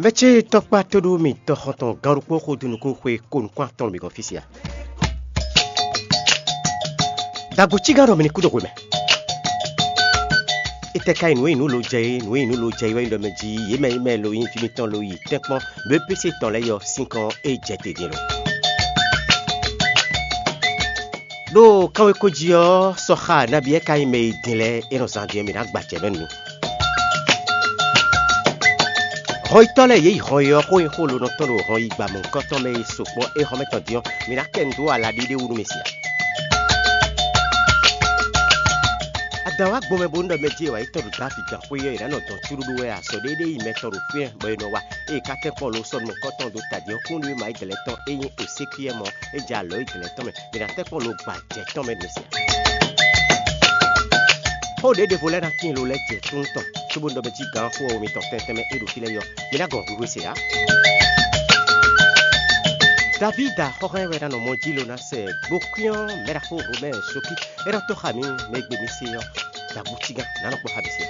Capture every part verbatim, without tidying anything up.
Mɛ ce tɔkpá tóɖó mì tɔxɔntɔn gán ɖokpó xo dó nukún xwe ko nukún atɔn mǐ gɔ́n fí sia. Dagbo cígán ɖɔ mi ní kú ɖo hwe mɛ. Étɛ́ ka nyí nǔ e nyí nǔ lo jɛ é? Nǔ e nyí nǔ lo jɛ é wɛ nyí ɖɔ mɛ jí yě mɛ nyí mɛ lo nyí fí mitɔn lo yi tɛ́nkpɔ́n B P C tɔn lɛ́ɛ yɔ sín kɔn é jɛ te din lo. Ɖo kanwekó jí ɔ́, sɔxa nabí wɛ ka nyí mɛ e din lɛ́ɛ é nɔ zán din ɔ́, mǐ ná gba acɛ mɛ nú mi. Hɔnyitɔ́ lɛ́ɛ yě yi hɔn e ɔ́ xó nyi xó lǒnɔ tɔn ɖo hɔn yi gba mɔ̌hunkɔtɔn mɛ e sokpɔ́ é hɔn mɛ tɔn din ɔ́, mi ná kɛ nǔ dó ala ɖéɖé wú nú mi sia. Adǎn wá gbɔn mɛ bónú ɖɔ mɛ jí è wǎ yi tɔn ɖo Davídi gǎnxwé ɔ́, è nǎ nɔ dɔn cúɖúɖú wɛ ǎ. Sɔ ɖéɖé yi mɛ tɔn ɖo fínɛ́ bɔ è nɔ wa, ée è ka tɛ́nkpɔ́n lo sɔ́ nukɔntɔn dó tají ɔ́, kúnɖéwéma Izlayɛ́li tɔn é nyí Esekiɛ́li mɔ, é jɛ alɔ Izlayɛ́li tɔn mɛ, è nǎ tɛ́nkpɔ́n lo gba jɛ tɔn mɛ ɖo sia. Xó ɖě ɖěvo lɛ́ɛ ná tíin lo lɛ́ɛ jɛ súnnu tɔn, cóbónú ɖɔ mɛ jí gǎn xó ɔ́ mitɔn tɛntɛn mɛ é ɖo fí lɛ́ɛ yɔ, mi ná gɔn hwihwe se ǎ. Davída xɔ́hán wɛ ná nɔ mɔ jí lo ná sɛ gbokwín ɔ́ mɛɖaxó Romɛ́ɛ Sokí é ná tɔ́ xa mǐ mɛ e gbe mi se ɔ́, ɖo agbúcígán ná nɔ kpɔ́ xa mǐ se.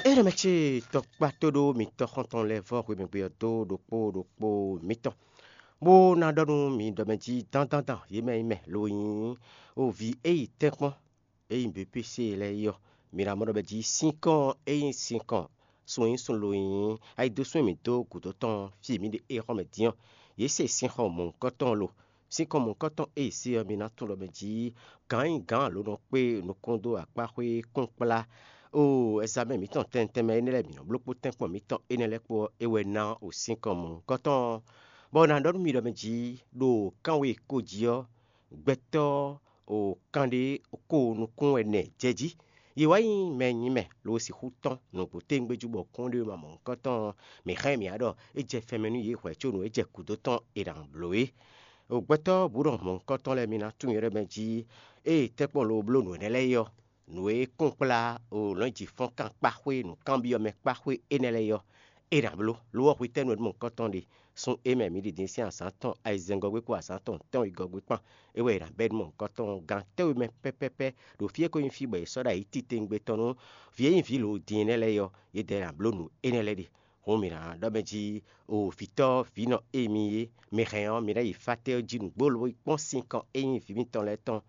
Énɛ́ mɛ ce tɔkpá tóɖó mitɔ́ xɔ́ntɔn lɛ́ɛ vɔ́ hwemɛgbe ɔ́ dó ɖokpó ɖokpó mitɔn, bó ná ɖɔ nú mi ɖɔ mɛ jí dán dán dán yě mɛ nyí mɛ lo nyí o vǐ e yi tɛ́nkpɔ́n e nyí B P C lɛ́ɛ é ɔ́, mi ná mɔ ɖɔ mɛ jí sínkɔn e nyí sínkɔn sun e nyí sun lo nyí ayidosún e mǐ dó gǔdo tɔn fí e mǐ ɖe é xɔ́ mɛ din ɔ́, yě se sinxɔ mɔ̌hunkɔtɔn lo. Sínkɔn mɔ̌hunkɔtɔn e è se ɔ́, mi ná tunwun ɖɔ mɛ jí gǎn e nyí gǎn lǒ nɔ kpé nukún dó akpáxwé kúnkplá o ɛzamɛ mǐtɔn tɛntɛn mɛ énɛ́ lɛ́ɛ bǐ nɔ bló kpó tɛ́nkpɔ́n mǐtɔn énɛ́ lɛ́ɛ kpó ɔ́, é wɛ ná o sínkɔn mɔ̌hunkɔtɔn ɔ́, bɔ è nǎ ɖɔ nú mi ɖɔ mɛ jí ɖo kánwe ko jí ɔ́, gbɛtɔ́ o kanɖé ko nukún ɛnɛ jɛ jí. Yě wá nyí mɛ e nyí mɛ lo sixú tɔ́n nǔgbó téŋgbéjú bɔ kúnɖéwéma mɔ̌hunkɔtɔn ɔ́, mǐ xá ɛ mǐ wá ɖɔ é jɛ fɛn mɛ nú yě hwɛ̌ có nǔ e jɛ gǔdo tɔn è nǎ bló é. O gbɛtɔ́ bǔ ɖɔ mɔ̌hunkɔtɔn lɛ́ɛ mi ná tunwun yě ɖɔ mɛ jí ée tɛ́nkpɔ́n lo bló nǔ énɛ́ lɛ́ɛ é ɔ́, nǔ e kún kplá o lɔ̌nyijǐ fɔ́n kan kpá xwé nǔkanbyɔ́ mɛ kpá xwé énɛ́ lɛ́ɛ é ɔ́, é ná bló. Lo ɔ́, hwetɛ́nu wɛ ɖó mɔ̌hunkɔtɔn ɖe? Sun e mɛ mǐ ɖi din sín azǎn tɔn ayizɛ́ngɔ́gbé kpó azǎn tɔn tɛ́nwegɔ́gbé kpán, é wɛ è nǎ bɛ́ nú mɔ̌hunkɔtɔn gán tɛ́nwe mɛ pɛ́pɛ́pɛ́ ɖo fí e ko nyí fí bɔ è sɔ́ ɖo ayǐ titewungbe tɔn nú vǐ e nyí vǐ lǒ din énɛ́ lɛ́ɛ é ɔ́, yědɛɛ ná bló nǔ énɛ́ lɛ́ɛ ɖe. Hǔn mǐ ná ɖɔ mɛ jí, o vǐtɔ́ vǐnɔ e mi é, mi hɛn ɔ́, mi ná yi fátɛ́ ɔ́ jí nǔgbó lobo yi kpɔ́n sinkɔn e nyí vǐ mitɔn lɛ́ɛ tɔn.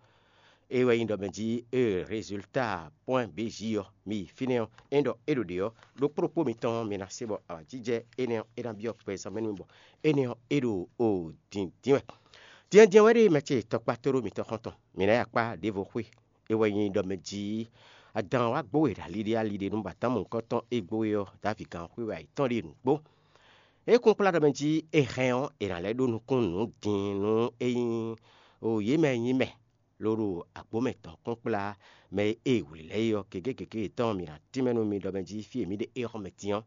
É wɛ nyí ɖɔ mɛ jí, e rezulta pwɛ́n bějí ɔ́, mi yi fínɛ́ ɔ́, é ɖɔ é ɖo ɖě ɔ́, ɖokpó ɖokpó mitɔn ɔ́, mi ná se bɔ awǎjijɛ énɛ́ ɔ́, é ná byɔ́ gbɛzán mɛ nú mi bɔ énɛ́ ɔ́, é ɖo o dǐndín wɛ. Díndín wɛ ɖe mɛ ce tɔkpá tóɖó mitɔn xɔ́ntɔn, mǐ ná yi akpá ɖěvo xwé. É wɛ nyí ɖɔ mɛ jí, adǎn wá gbó we ɖo aliɖe aliɖe nú batǎn mɔ̌hunkɔtɔn e gbó we ɔ́, Davídi gǎnxwé wɛ ayǐtɔn ɖe nǔgbó. É kún kplá ɖɔ mɛ jí è hɛn ɔ́, è nǎ lɛ́ ɖó nukún nǔ din nú é nyí o yě mɛ e nyí mɛ, lo ɖo agbǒ mɛ tɔn kún kplá mɛ e è wlǐ lɛ́ɛ é ɔ́, gěgé gěgé yětɔn mǐ ná tínmɛ nú mi ɖɔ mɛ jí fí e mǐ ɖe é xɔ mɛ din ɔ́.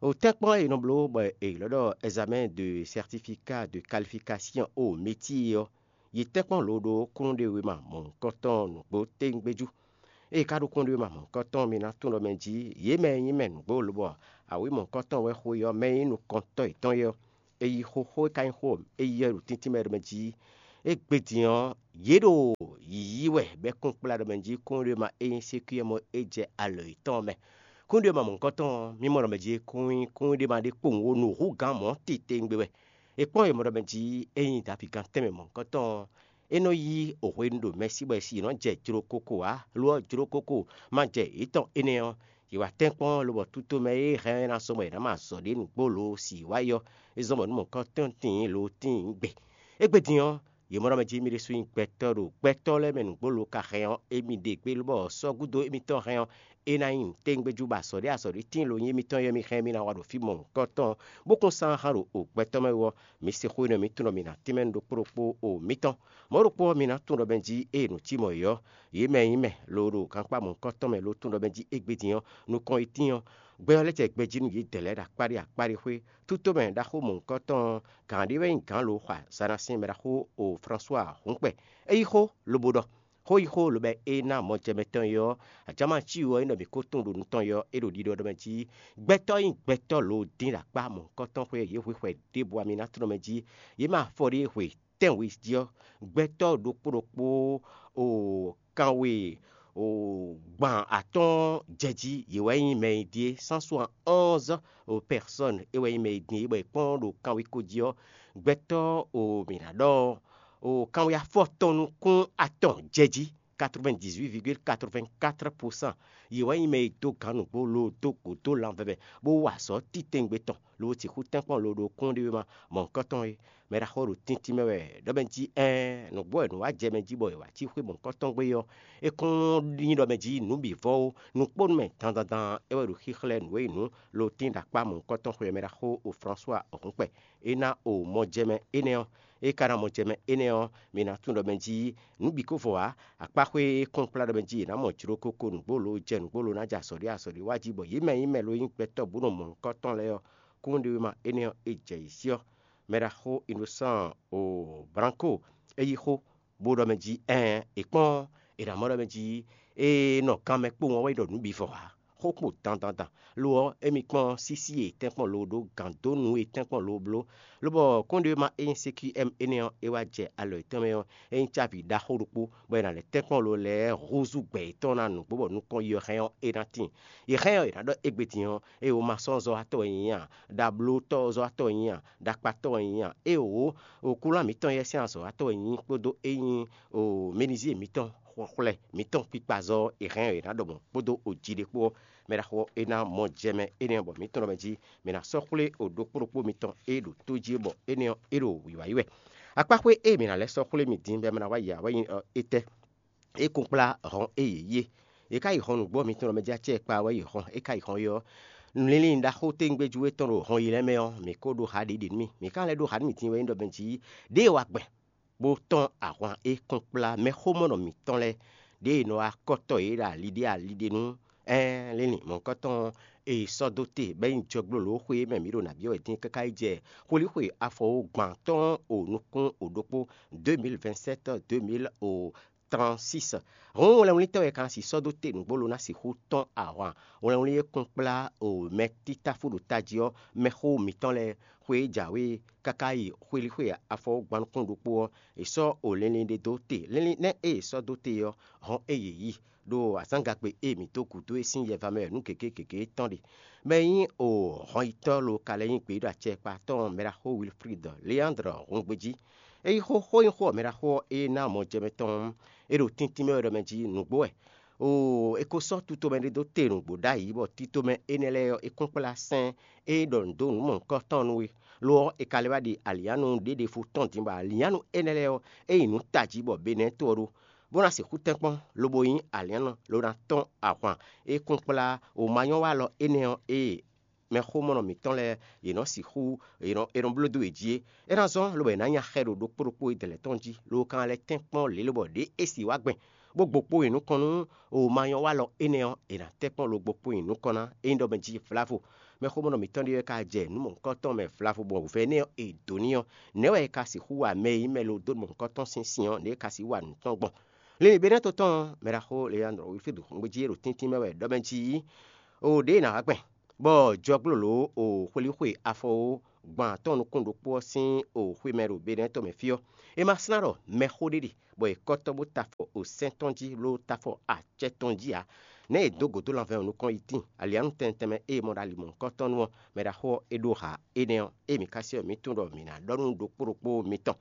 O tɛ́nkpɔ́n e è nɔ bló bɔ è ylɔ́ ɖɔ ɛzamɛ́n de sɛrtifiká de kalifikásyɔn o métíe ɔ́, yi tɛ́nkpɔ́n lo ɖó kúnnuɖewéma mɔ̌hunkɔtɔn nǔgbó téwúngbéjú. Ée ka ɖó kúnnuɖewéma mɔ̌hunkɔtɔn mi ná tunwun ɖɔ mɛ jí yě mɛ e nyí mɛ nǔgbó lobɔ awǐ mɔ̌hunkɔtɔn wɛ xo é ɔ́, mɛ e nyí nukɔntɔ́ yětɔn é ɔ́, è yi xó xó e ka nyí xó e yí ɔ́ ɖo tíntín mɛ ɖo mɛ jí. Égbé din ɔ́, yě ɖo yǐyí wɛ bɔ é kún kplá ɖɔ mɛ jí kúnnuɖewéma e nyí sékwíyɛ́ mɔ é jɛ alɔ yětɔn ɔ́ mɛ. Kúnnuɖewéma mɔ̌hunkɔtɔn ɔ́, mǐ mɔ ɖɔ mɛ jí é kún nyí kúnnuɖewéma ɖé kpowun ó nǔhúgǎn mɔ̌ titewungbe wɛ. È kpɔ́n e mɔ ɖɔ mɛ jí é nyí Davídi gán tɛnmɛ mɔ̌hunkɔtɔn ɔ́, é nɔ yí hwenu ɖo mɛsí bɔ è si nɔ jɛ jlokoko ǎ; lo ɔ́, jlokoko ma jɛ yětɔn énɛ́ ɔ́, yě wá tɛ́nkpɔ́n lobɔ tutomɛ e hɛn ɔ́ ná zɔ́n bɔ è nǎ mɔ azɔ̌ ɖé nǔgbó lo si wá yi ɔ́, é zɔ́n bɔ nǔ mɔ̌hunkɔtɔn tíin lo tíin gbe. Égbé din ɔ́, yě mɔ ɖɔ mɛ jí mì ɖésú nyí gbɛtɔ́ ɖo gbɛtɔ́ lɛ́ɛ mɛ nǔgbó lo ka hɛn ɔ́, émí ɖe gbé lobɔ sɔ́ gúdo émítɔn hɛn ɔ́, é ná nyí nǔtɛ́ngbéjú bɔ azɔ̌ ɖé azɔ̌ ɖé tíin lo nyí émítɔn ɔ́, mi hɛn mì ná wa ɖo fí mɔ̌hunkɔtɔn ɔ́, bó kún sán hán ɖo o gbɛtɔ́ mɛ wú ɔ́, mǐ se xó énɛ́ ɔ́, mǐ tunwun ɖɔ mǐ ná tínmɛ nú ɖokpó ɖokpó o mǐtɔn. Mɔ̌ ɖokpó ɔ́, mi ná tunwun ɖɔ mɛ jí ée nǔ cí mɔ̌ é ɔ́, yě mɛ e nyí mɛ lo ɖo gankpá mɔ̌hunkɔtɔn mɛ lo tunwun ɖɔ mɛ jí égbé din ɔ́, nukɔn e tíin ɔ́, gbɛ ɔ́ lɛ́ jɛ gbɛ jí nú yědɛɛ lɛ́ɛ ɖo akpáɖí akpáɖí xwé. Tútomɛ ɖaxó mɔ̌hunkɔtɔn ɔ́, gǎn ɖé wɛ nyí gǎn lo xɔ azǎn ná sín mɛ ɖaxó o Flɔ́sua Hǔnkpɛ. É yí xó lobo ɖɔ: Xó yí xó lobɔ é ná mɔjɛmɛ tɔn é ɔ́, ajǎma cí ɔ́, é nɔ mǐ ko tunwun ɖo nu tɔn é ɔ́, é ɖo ɖiɖɔ ɖɔ mɛ jí: Gbɛtɔ́ nyí gbɛtɔ́ lo dín ɖo akpá mɔ̌hunkɔtɔn xwé e yě hwixwɛ ɖěbǔ ɔ́, mi ná tunwun mɛ jí yě mɛ afɔ ɖé hwe tɛ́nwe jí ɔ́, gbɛtɔ́ ɖokpó ɖokpó o kanwe gban atɔ́ɔ́n jɛ jí, yě wɛ nyí mɛ e ɖíe, cent soixante-onze personnes é wɛ nyí mɛ e din é, bɔ è kpɔ́n ɖo kanwekó jí ɔ́, gbɛtɔ́ mǐ ná ɖɔ kanwe afɔtɔn nukún atɔn jɛ jí, quatre-vingt-dix-huit virgule quatre-vingt-quatre pour cent. Yě wɛ nyí mɛ e dó gǎn nǔgbó, lo dó gǒ dó lanvɛvɛ, bó wa azɔ̌ titewungbe tɔn, lo sixú tɛ́nkpɔ́n lo ɖo kúnɖéwéma mɔ̌hunkɔtɔn é. Mɛ ɖaxó ɖo tíntín mɛ wɛ ɖɔ mɛ jí ɛɛn, nǔgbó wɛ nǔ wá jɛ mɛ jí bɔ è wǎ cí xwé mɔ̌hunkɔtɔn gbé ɔ́, é kún nyí ɖɔ mɛ jí nǔ bǐ vɔ ó, nukpónú mɛ dandandan é wɛ ɖo xíxlɛ́ nǔ e nyí nǔ lo tín ɖo akpá mɔ̌hunkɔtɔn xwé ɔ́ mɛ ɖaxó o François Hɔnkpɛ. É ná o mɔjɛmɛ énɛ́ ɔ́, é ka ná mɔjɛmɛ énɛ́ ɔ́, mi ná tunwun ɖɔ mɛ jí nǔ bǐ ko vɔ ǎ. Akpáxwé e kɔn kplá ɖɔ mɛ jí è nǎ mɔ jló kókó nǔgbó lo jɛ nǔgbó lo ná jɛ azɔ̌ ɖé azɔ̌ ɖé wá jí, bɔ yě mɛ nyí mɛ lo nyí gbɛtɔ́ bó nɔ mɔ nukɔn tɔn lɛ́ɛ ɔ́, kúnɖéwéma énɛ́ ɔ́, è jɛ yě sí ɔ́. Mɛ ɖaxó Innocent o Branco é yí xó, bó ɖɔ mɛ jí ɛɛn, è kpɔ́n, è nǎ mɔ ɖɔ mɛ jí é nɔ kanmɛ kpowun ɔ́ wɛ ɖɔ nǔ bǐ vɔ ǎ. Xó kpo dandandan. Lo ɔ́, émí kpɔ́n sísí e tɛ́nkpɔ́n lo ɖó gǎn dó nǔ e tɛ́nkpɔ́n lo bló, lobɔ kɔ́nɖéwéma e nyí C Q M énɛ́ ɔ́, é wá jɛ alɔ yětɔn mɛ ɔ́, é nyí cávi ɖaxó ɖokpó, bɔ è nǎ lɛ́ tɛ́nkpɔ́n lo lɛ́ɛ húzú gbɛ yětɔn ná nǔgbó bɔ nukɔn yi ɔ́ hɛn ɔ́, é ná tíin. È hɛn ɔ́, è nǎ ɖɔ égbé din ɔ́, ée wǒ ma sɔ́ zɔ́watɔ́ wɛ nyí a, ɖablótɔ́ zɔ́watɔ́ wɛ nyí a, ɖakpatɔ́ wɛ nyí a, ée wǒ, wǒkúlán mǐtɔn yɛ́ sín azɔ̌watɔ́ wɛ nyí kpódó é nyí o menizie mǐtɔn, xwlɛ mǐtɔn kpikpazɔ́ ɔ́, è hɛn ɔ́, è nǎ ɖɔ mɔ̌ kpódó oji ɖé kpó ɔ́, mɛ ɖaxó ɔ́, é ná mɔ jɛ mɛ énɛ́ ɔ́, bɔ mǐ tunwun ɖɔ mɛ jí mǐ ná sɔ́ xwlé o ɖokpó ɖokpó mitɔn e ɖo tó jí é, bɔ énɛ́ ɔ́, é ɖo wǐwá yi wɛ. Akpáxwé e mǐ ná lɛ́ sɔ́ xwlé mi din bɔ é ma ná wá yi ǎ wɛ nyí ɔ, étɛ́? É kún kplá hɔn e yě yí é. Yě ká yi hɔn nǔgbó ɔ́, mi tunwun ɖɔ mɛ jí acɛ kpa wɛ yi hɔn, é ká yi hɔn é ɔ́, linlin ɖaxó téŋgbéjú e tɔn ɖo hɔn yi lɛ́ɛ mɛ ɔ́, mǐ ko ɖó ha ɖě ɖě nú mì. Mǐ ka lɛ́ ɖó ha nú mì din wɛ nyí ɖɔ mɛ jí ɖěe wa gbɛn bó tɔ́n ahwan e kɔn kplá mɛxómɔnɔ mǐtɔn lɛ́ɛ, ɖěe nɔ wá kɔ́tɔ yě ɖo ali ɖé ali ɖé nú. Ɛɛn, linlin mɔ̌hunkɔtɔn e è sɔ́ dó te bɔ é nyí jɔgblólǒ xwe e mɛ mǐ ɖo nǎ byɔ́ wɛ dín káká yi jɛ xwelíxwe afɔwógbán tɔn o nukún o ɖokpó deux mille vingt-sept deux mille trente-six. Hǔn wlɛnwlítɔ́ e ka ná sixú sɔ́ dó te nǔgbó lo ná sixú tɔ́n ahwan wlɛnwlí e kún kplá o mɛtítáfú ɖo tají ɔ́, mɛxó mǐtɔn lɛ́ɛ xwe e jǎwe káká yi xwelíxwe afɔwógbán nukún ɖokpó ɔ́, è sɔ́ o linlin ɖé dó te. Linlin nɛ́ e è sɔ́ dó te ɔ́, hɔn e yě yi ɖo azǎngagbe e mǐ dó gǔdo é sín yɛva mɛ wɛ nǔ gěgé gěgé tɔn ɖe. Mɛ e nyí o hɔnyitɔ́ lo ka lɛ́ nyí gbeyíɖɔ acɛkpa tɔn mɛɖaxó Wilfrid Leandre hun gbejí. É yí xó xó nyí xó ɔ́ mɛɖaxó ɔ́, é ná mɔjɛmɛ tɔn é ɖo tíntín mɛ wɛ ɖɔ mɛ jí nǔgbó wɛ. Oo, è ko sɔ́ tutomɛ ɖé dó te nǔgbó ɖ'ayǐ, bɔ titomɛ énɛ́ lɛ́ɛ ɔ́, è kún kplá sɛ́n e ɖɔ nǔ dó nǔ mɔ̌hunkɔtɔn nú we. Lo ɔ́, è ka lɛ́ wá ɖi alǐannu ɖěɖefo tɔn din, bɔ alǐannu énɛ́ lɛ́ɛ ɔ́, é nyí nǔ tají bɔ Benɛ́ɛ to ɔ́ ɖó, bó ná sixú tɛ́nkpɔ́n, lobo nyí alǐannɔ, lo ná tɔ́n ahwan e kún kplá wǒmanyɔ́walɔ énɛ́ ɔ́, ée mɛxómɔnɔ mǐtɔn lɛ́ɛ yě nɔ sixú è nɔ bló dó yě jí é. É ná zɔ́n lobo è nǎ nya xɛ ɖo ɖokpó ɖokpó e dɛ̌n lɛ́ɛ tɔn jí, lo ka ná lɛ́ tɛ́nkpɔ́n lě lobɔ ɖě é sì wá gbɛn, bó gbo kpó nyi nukɔn nú wǒmanyɔ́walɔ énɛ́ ɔ́, è nǎ tɛ́nkpɔ́n lo gbo kpó nyi nukɔn ná, é nyí ɖɔ mɛ jí vlavo. Mɛxómɔnɔ mǐtɔn ɖé wɛ ka jɛ nǔ mɔ̌hunkɔtɔn mɛ vlavo bɔ vɛ̌ nɛ́ ɔ́ è dǒ n'i ɔ́, nɛ̌ wɛ è ka sixú wa mɛ e nyí mɛ lo dó nǔ mɔ̌hunkɔtɔn sín sin ɔ́, nɛ̌ è ka sixú wa nǔ tɔn gbɔn? Linlin Benɛ́to tɔn ɔ́, mɛɖaxó Leandro Wilfrid Hungbejí e ɖo tíntín mɛ wɛ ɖɔ mɛ jí, o ɖěe è nǎ wá gbɛn, bɔ jɔglólǒ o xwelíxwe afɔwó gban tɔn nukún ɖokpó ɔ́ sín o xwe mɛ ɖo Benɛ́ tɔn mɛ fí ɔ́, è ma slán ɖɔ mɛxó ɖé ɖe, bɔ è kɔ́tɔ́ bó ta afɔ o sɛ́n tɔn jí ló ta afɔ acɛ tɔn jí ǎ. Nɛ̌ è dǒ gǒ dó lanvɛ́ ɔ́ nukɔn yi tíin? Aliǎnu tɛnmɛ tɛnmɛ e è mɔ ɖo ali mɔ̌hunkɔtɔn nu ɔ́, mɛɖaxó ɔ́, é ɖó ha énɛ́ ɔ́, ée mǐ ka se ɔ́, mǐ tunwun ɖɔ mǐ ná ɖɔ nú ɖokpó ɖokpó mitɔn.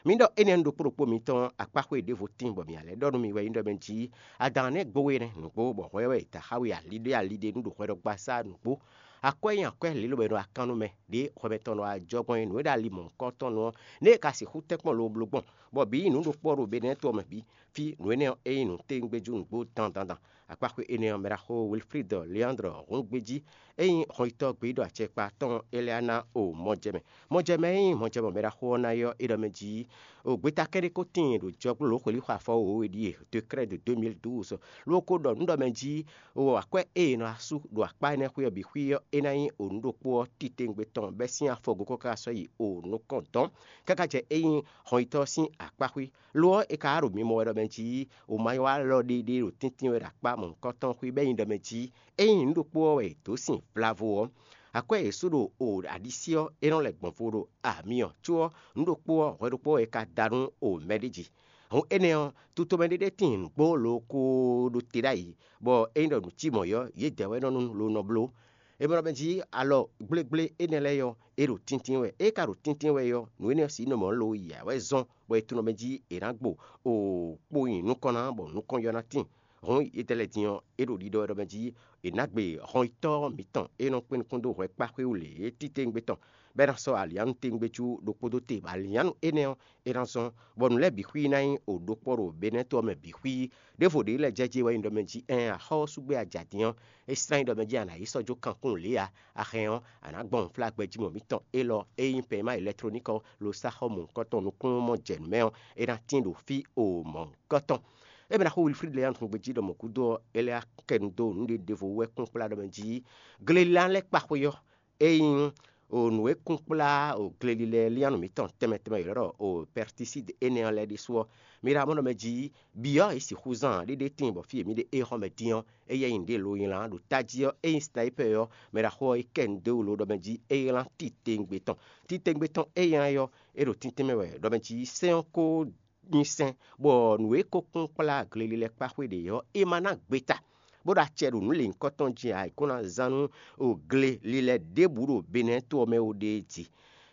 Mǐ ɖɔ énɛ́ nú ɖokpó ɖokpó mitɔn ɔ́, akpáxwé ɖěvo tíin bɔ mǐ ná lɛ́ ɖɔ nú mi wɛ nyí ɖɔ mɛ jí adǎn nɛ́ gbo we nɛ́ nǔgbó, bɔ hwɛ wɛ è da xá we aliɖé aliɖé nú ɖo hwɛɖɔgbasá nǔgbó. Akwɛ́ nyí akwɛ́ lě lobɔ è nɔ wa kan nú mɛ ɖě hwɛmɛtɔn nɔ wa jɔ gbɔn é nǔ e ɖo ali mɔ̌hunkɔtɔn nu ɔ́, nɛ̌ è ka sixú tɛ́nkpɔ́n lo bló gbɔn, bɔ bǐ nǔ ɖokpó ɔ́ ɖo Benɛ́to ɔ́ mɛ bǐ. Fí nǔ énɛ́ ɔ́, é nyí nǔtɛ́wúngbéjú nǔgbó dandan dan. Akpáxwé énɛ́ ɔ́, mɛɖaxó Wilfrid Leandre Hungbejí, é nyí hɔnyitɔ́ gbeyíɖɔ acɛkpa tɔn Eleana o mɔjɛmɛ. Mɔjɛmɛ e nyí mɔjɛmɛ mɛɖaxó ɔ́ ná yi ɔ́, é ɖɔ mɛ jí o gbeta kɛ́ɖé ko tíin ɖo jɔgbólǒ xwelíxɔ afɔ wǒwe ɖíe, décret de deux mille douze, ló ko ɖɔ nǔ ɖɔ mɛ jí o akwɛ́ e è nɔ asú ɖo akpá énɛ́ xwé ɔ́ bǐ xwí ɔ́, é ná nyí o nǔ ɖokpó ɔ́ titewungbe tɔn bɛ́ sín afɔgo káká sɔ́ yi o nukɔn dɔn, káká jɛ é nyí hɔnyitɔ́ ɔ́ sín akpá xwí. Lo ɔ́, è ka wá ɖo mi mɔ wɛ ɖɔ mɛ jí wǒmayɔ́walɔ ɖé ɖé ɖo tɛ́ntin wɛ ɖo akpá mɔ̌hunkɔtɔn xwé bɔ é nyí ɖɔ mɛ jí ényí nǔ ɖokpó ɔ́ wɛ è dǒ sin vlavo ɔ́, akwɛ́ e è sú ɖo o aɖisí ɔ́, é nɔ lɛ́ gbɔn vo ɖo amyɔ có ɔ́, nǔ ɖokpó ɔ́, hwɛ ɖokpó ɔ́ è ka da nú o mɛɖéji. Hǔn énɛ́ ɔ́, tutomɛ ɖé ɖé tíin nǔgbó loo ko ɖo te ɖ'ayǐ, bɔ ényí ɖɔ nǔ cí mɔ̌ ɔ́, yědɛɛ wɛ nɔ nu lo nɔ bló. É mɔ ɖɔ mɛ jí alɔ gblégblé énɛ́ lɛ́ɛ ɔ́, é ɖo tíntín wɛ. É ka ɖo tíntín wɛ ɔ́, nǔ énɛ́ ɔ́ sǐ nɔ mɔ̌ lo yǎ wɛ zɔ́n, bɔ è tunɔ mɛ jí è nǎ gbo o kpo nyi nukɔn ná, bɔ nukɔn yɔ ná tíin. Hǔn yědɛɛ lɛ́ɛ din ɔ́, é ɖo ɖiɖɔ wɛ ɖɔ mɛ jí è nǎ gbe hɔnyitɔ́ mǐtɔn e nɔ kpé nukún dó hwɛ kpá xwé wú lě é titewungbe tɔn, bɔ é ná sɔ́ alǐannu tewungbe jú ɖokpó dó te, bɔ alǐannu énɛ́ ɔ́, é ná zɔ́n, bɔ nǔ lɛ́ɛ bǐ xwíí ná nyí o ɖokpó ɖo Benɛ́to ɔ́ mɛ bǐ xwíí. Ɖěvo ɖě lɛ́ɛ jɛ jí wɛ nyí ɖɔ mɛ jí ɛɛn axɔ́ ɔ́ sú gbé a jǎ din ɔ́, é slán nyí ɖɔ mɛ jí a nǎ yi sɔ́ jó kankún lě ǎ. A hɛn ɔ́, a nǎ gbɔn unflágbɛjí mɔ mǐtɔn élɔ́ e nyí pɛ̌ma elɛktlɔník ɔ́ lo sá xɔ mɔ̌hunkɔtɔn nukúnnú mɔ jɛ nǔ mɛ ɔ́, é ná tín ɖo fí o mɔ̌hunkɔtɔn. É mɛ ná xó Wilflíd lɛ́ɛ nyi gbe jí ɖɔ mɔ̌ gúdo ɔ́, é lɛ́ kɛ nu dó nǔɖé ɖěvo wú wɛ kún kplá ɖɔ mɛ jí glelilán lɛ́ɛ kpa xwé ɔ́, é nyí o nǔ e kún kplá o gleli lɛ́ɛ lían nú mǐtɔn tɛnmɛ tɛnmɛ ylɔ́ ɖɔ o pɛrtisíd énɛ́ ɔ́ lɛ́ɛ ɖésú ɔ́, mi ɖo amɔ̌ ɖɔ mɛ jí byɔ́ è sixú zán ɖéɖé tíin bɔ fí e mǐ ɖe éhɔ́ mɛ dín ɔ́, éyɛ́ nyi nǔɖé lo nylá ɖo tají ɔ́, é nyí snayípɛ ɔ́, mɛ ɖaxó ɔ́ yi kɛ nu dó wú lo ɖɔ mɛ jí é ylán titewungbe tɔn. Titewungbe tɔn é nylá ɔ́, é ɖo tíntín mɛ wɛ ɖɔ mɛ jí sɛ́n ɔ́ ko nyi sɛn, bɔ nǔ e ko kún kplá gleli lɛ́ɛ kpá xwé ɖě ɔ́, é ma ná gbeta, bó ɖo acɛ ɖo nǔ lěhunkɔtɔn jí ǎ, è kó ná zán nú o gleli lɛ́ɛ ɖěbǔ ɖo Benɛ́ to ɔ́ mɛ ó ɖée jí.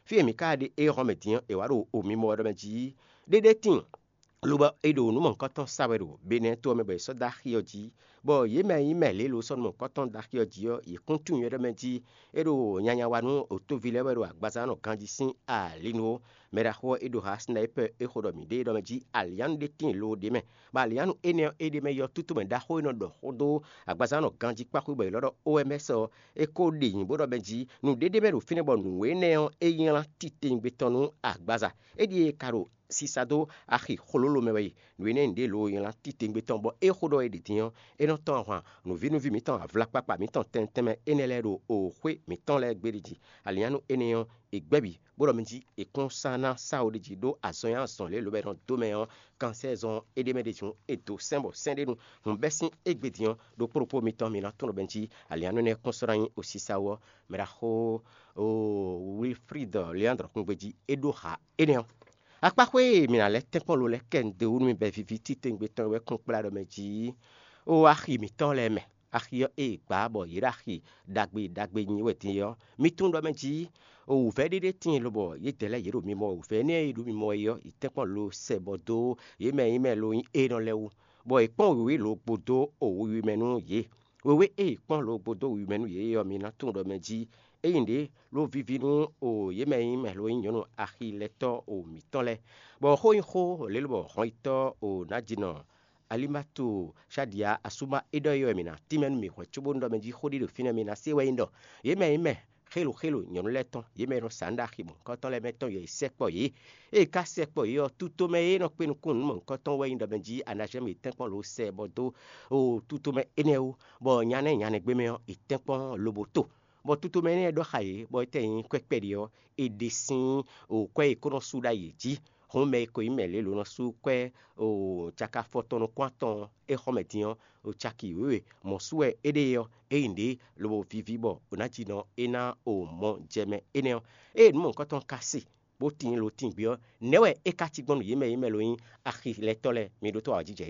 Fí e mǐ ka ɖe éhɔ́ mɛ din ɔ́, è wǎ ɖo o mimɔ wɛ ɖɔ mɛ jí ɖéɖé tíin, lobɔ è ɖo nǔ mɔ̌hunkɔtɔn sa wɛ ɖo Benɛ́ to ɔ́ mɛ bɔ è sɔ́ dó axi ɔ́ jí, bɔ yě mɛ e nyí mɛ lě lo sɔ́ nú mɔ̌hunkɔtɔn dó axi ɔ́ jí ɔ́, yě kún tunwun ywɛ́ ɖɔ mɛ jí é ɖo nyanya wa nú otóví lɛ́ɛ wɛ ɖo agbaza nɔ ganjí sín ali nu ó. Mɛ ɖaxó ɔ́, é ɖo ha sinayípɛ é xo ɖɔ mǐ ɖe é ɖɔ mɛ jí alǐannu ɖé tíin lo ɖ'é mɛ, bɔ alǐannu énɛ́ ɔ́, é ɖ'é mɛ yɔtútomɛ ɖaxó e nɔ ɖɔ xó dó agbaza nɔ ganjí kpáxwé bɔ è lɔ́ ɖɔ O M S ɔ́, é ko ɖe nyi bó ɖɔ mɛ jí nǔɖé ɖ'é mɛ ɖo fínɛ́ bɔ nǔ énɛ́ ɔ́, é nylá titewungbe tɔn nú agbaza. É ɖíe ka ɖo sisa dó axi xlólo mɛ wɛ yi. Nǔ énɛ́ nǔɖé lo nylá titewungbe tɔn bɔ é xo ɖɔ é ɖi din ɔ́, é nɔ tɔ́n ahwan nǔvínúví mǐtɔn avlakpakpa mǐtɔn tɛnmɛ tɛnmɛ énɛ́ lɛ́ɛ ɖo oxwé mǐtɔn lɛ́ɛ gbéɖé jí. Alǐannu énɛ́ ɔ́, è gbɛ́ bǐ, bó ɖɔ mi jí è kún sán ná sá wo ɖ'é jí ɖó azɔn e azɔn lě lǒ bɔ è nɔ dó mɛ ɔ́, kansɛ́ zɔn é ɖ'é mɛ ɖ'é jí é dó sɛ́n bɔ sɛ́n ɖé nu. Hǔn bɛ́ sín égbé din ɔ́, ɖokpó ɖokpó mitɔn mi ná tunwun ɖɔ bɛ́ jí alǐannu énɛ́ kún sɔ́ ná nyí osisa wú ɔ́, mɛ ɖaxó Wilfrid Leandre kún gbejí é ɖó ha énɛ́ ɔ́. Akpáxwé e mǐ ná lɛ́ tɛ́nkpɔ́n lo lɛ́ɛ kɛ un dó wú nú mi bɔ é víví titewungbe tɔn wɛ kún kplá ɖɔ mɛ jí ó axi mǐtɔn lɛ́ɛ mɛ. Axi ɔ́ e è gbǎ bɔ yě ɖo axi ɖagbe ɖagbe nyi wɛ din é ɔ́, mi tunwun ɖɔ mɛ jí wǔvɛ́ ɖé ɖé tíin lobɔ yědɛɛ lɛ́ɛ yě ɖo mimɔ wɛ. Wǔvɛ́ énɛ́ e ɖo mimɔ wɛ é ɔ́, è tɛ́nkpɔ́n lo sɛ bɔ dó yě mɛ e nyí mɛ lo nyí énɔ lɛ́ɛ wú, bɔ è kpɔ́n wěwé lo gbo dó o wiwi mɛ nú yě. Wěwé e è kpɔ́n lo gbo dó wiwi mɛ nú yě é ɔ́, mi ná tunwun ɖɔ mɛ jí é nyí nǔɖé ló víví nú o yě mɛ e nyí mɛ lo nyí nyɔ̌nu axilɛtɔ́ o mǐtɔn lɛ́ɛ, bɔ xó nyí xó lě lobɔ hɔnyitɔ́ o nǎjínɔ Alimatu Shadia asúma é ɖɔ é wɛ mǐ ná tínmɛ nú mǐ hwɛ̌ cóbónú ɖɔ mɛ jí xó ɖé ɖo fínɛ́ mi ná se wɛ nyí ɖɔ yě mɛ e nyí mɛ xélo xélo nyɔ̌nu lɛ́ɛ tɔn, yě mɛ e nɔ sa nǔ ɖo axi mɔ̌hunkɔtɔn lɛ́ɛ mɛ tɔn yě sɛkpɔ yě. Ée è ka sɛkpɔ yě ɔ́, tutomɛ e nɔ kpé nukún nǔ mɔ̌hunkɔtɔn wɛ nyí ɖɔ mɛ jí anazɛ́n mǐtɛn kpɔ́n lǒ sɛ bɔ dó o tutomɛ énɛ́ wú, bɔ nya nɛ́ nya nɛ́ gbé mɛ ɔ́, è tɛ́nkpɔ́n lobo to. Bɔ tutomɛ énɛ́ e ɖɔ xá yě, bɔ étɛ́ nyí kwɛ́ kpɛɖé ɔ́, è ɖe sín o kwɛ́ e è ko nɔ sú ɖ'ayǐ jí. Hǔn mɛ e ko nyí mɛ lě lo nɔ sú kwɛ́ o caki afɔtɔn nukún atɔn ɔ́, é xɔ mɛ din ɔ́, o caki wěwe mɔ̌ sú wɛ é ɖe ɔ́, é nyí nǔɖé lobo víví bɔ o ná jí nɔ é ná o mɔ jɛ mɛ énɛ́ ɔ́. Ée nǔ mɔ̌hunkɔtɔn ka se, bó tíin lo tíngbé ɔ́, nɛ̌ wɛ é ka cí gbɔn nú yě mɛ e nyí mɛ lo nyí axilɛtɔ́ lɛ́ɛ? Mi ɖótó awǎjijɛ e